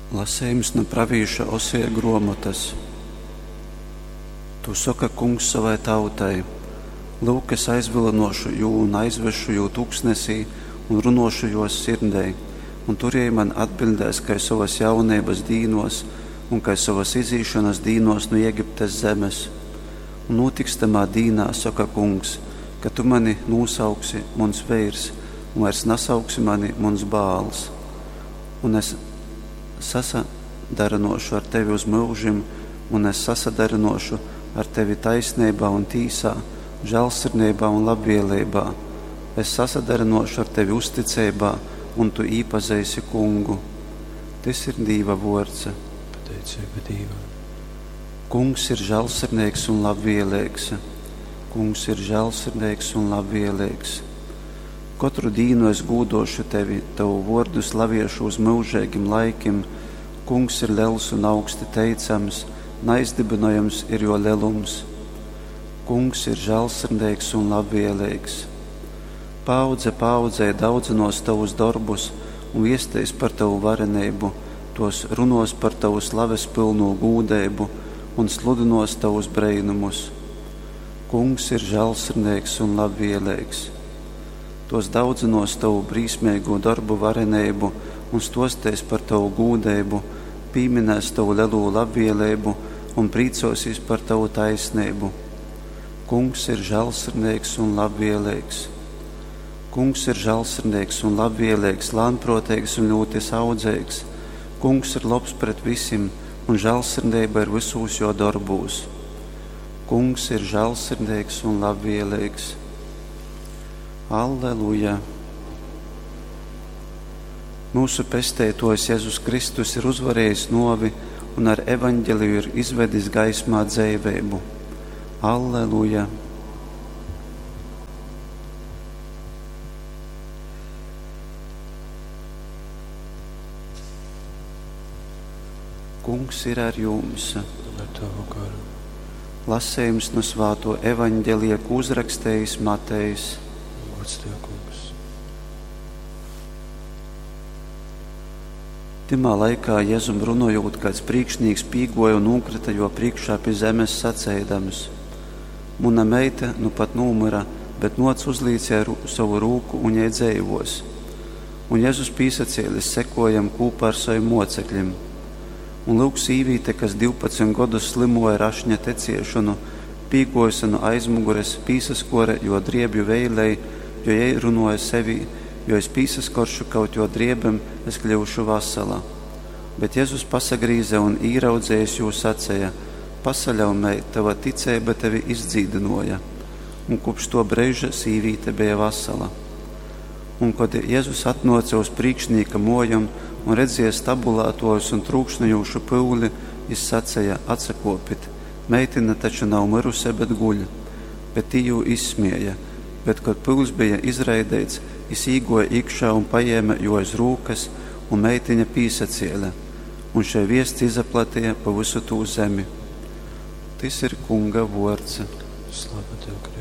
Lasejums nu pravīša Oseja gruomotys. Tū soka Kungs sovai tautai: Lyuk, es aizvylynuošu jū un aizvesšu jū tuksnesī un runuošu juos sirdei, un tur jei man atbiļdēs kai sovas jauneibas dīnuos un kai sovas izīšonas dīnuos nu Egiptes zemes. Un nūtiks tamā dīnā, soka Kungs, ka tu mani nūsauksi muns veirs, un vairs nasauksi mani muns Baals. Un es sasadarynōšu ar tevi uz myužim, un es sasadarynōšu ar tevi taisneibā un tīsā, žālsirdeibā un labvēleibā. Es sasadarynōšu ar tevi uzticeibā, un tu īpazeisi Kungu. Tys ir Dīva vōrds. Pateiceiba Dīvam. Kungs ir žālsirdeigs un labvēlīgs. Kungs ir žālsirdeigs un labvēlīgs. Kotru dīnu es gūdōšu tevi, tovu vōrdu slaviešu uz myužeigim laikim. Kungs ir lels un augsti teicams, naizdybynojams ir jō lelums. Kungs ir žālsirdeigs un labvēlīgs. Paaudze paaudzei daudzynōs tovus dorbus un viesteis par tovu vareneibu, tōs runōs par tovu slaves pylnū gūdeibu un sludynōs tovus breinumus. Kungs ir žālsirdeigs un labvēlīgs. Tōs daudzynōs tovu brīsmeigū dorbu vareneibu un stōsteis par tovu gūdeibu, pīminēs tovu lelū labvēleibu un prīcōsīs par tovu taisneibu. Kungs ir žālsirdeigs un labvēlīgs. Kungs ir žālsirdeigs un labvēlīgs, lānprōteigs un ļūti saudzeigs. Kungs ir lobs pret visim, un žālsirdeiba ir vysūs jō dorbūs. Kungs ir žālsirdeigs un labvēlīgs. Alleluja! Mūsu Pesteitōjs Jezus Kristus ir uzvarējis nōvi un ar evaņģeliju ir izvedis gaismā dzeiveibu. Alleluja! Kungs ir ar jums. Un ar tavu garu. Lasējums no svāto evaņģelija, ko uzrakstījis Matejs. Gods tev, Kungs. Tymā laikā Jezum runojūt, kāds prīkšnīks pīgoja un nūkrita jō prīkšā pi zemes saceidams: Muna meita nu pat nūmyra, bet nōc uzlīc jai sovu rūku un jei dzeivōs. Un Jezus pīsacēlis sekoja jam kūpā ar sovim mōcekļim. Un lyuk, sīvīte, kas 12 godus slimoja ar ašņa teciešonu, pīgōjuse nu aizmugures, pīsaskore jō driebju veilei, jo jei runoja sevī: Jo es pīsaskoršu kaut jō driebem, es kļyušu vasala. Bet Jezus pasagrīze un īraudzējis jū saceja: Pasaļau, meit, tava ticeiba tevi izdzīdynōja. Un kopš to breiža sīvīte beja vasala. Un, kad Jezus atnōca uz prīkšnīka mōjom un redzēja stabulātōjus un trūkšņojūšu pyuli, jis saceja: Atsakōpit, meitina taču nav myruse, bet guļ. Bet tī jū izsmēja. Bet, kad pyuls bija izraideits, jis īgoja iekšā un paņēma jū aiz rūkas, un meitiņa pīsacēle. Un šei viests izaplatīja pa visu tū zemi. Tys ir Kunga vōrds. Slava tev, Kristus.